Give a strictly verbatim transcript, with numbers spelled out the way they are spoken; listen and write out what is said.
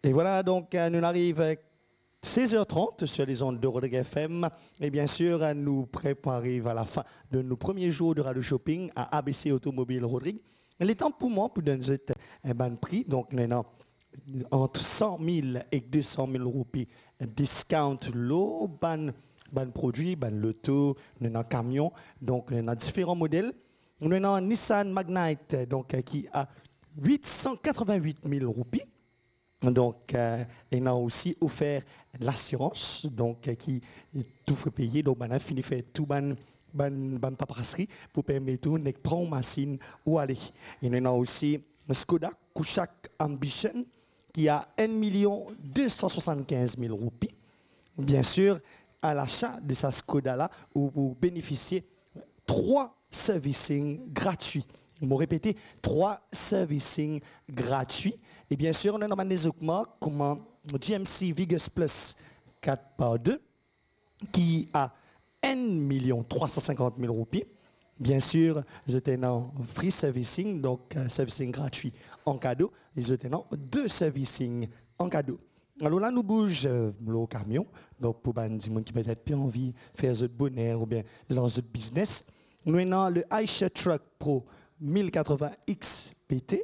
Et voilà, donc, euh, nous arrivons à seize heures trente sur les ondes de Rodrigue F M. Et bien sûr, euh, nous préparons à la fin de nos premiers jours de radio shopping à A B C Automobile Rodrigue. Le temps pour moi, pour donner un bon prix, donc, nous avons entre cent mille et deux cent mille roupies discount lor bann, bann produi, bann loto, nou ena kamion, donk nou ena diferan model. Nou ena Nissan Magnite, donk, euh, ki a huit cent quatre-vingt-huit mille roupies. Donk, euh, ena osi ofer lasirans, donk, euh, ki tou fre peye, donk bann la fini fer tou bann, bann, bann paperasri pou permet ou nek pran ou masinn ou ale. E nou ena osi Skoda Kodiaq Ambition ki a enn milion de san swasann-kinz mil roupi. Bien sûr, à l'achat de sa Skoda la, ou pou benefisie trwa servicing gratwi. Mo repete, trwa servicing gratwi. E bien sûr, nou ena bann lezot mark kouma G M C Vigor Plus kat par de, ki a enn milion trwa san sinkant mil roupi. Bien sûr, zot ena free servicing, donk, euh, servicing gratwi an kado, e zot ena de servicing an kado. Alor la, nou bouze, euh, lor kamion. Donk, pou bann dimoun ki petet pe anvi fer zot boner oubien lans zot biznes, nou ena le Eicher Truck Pro mil katrevin X P T,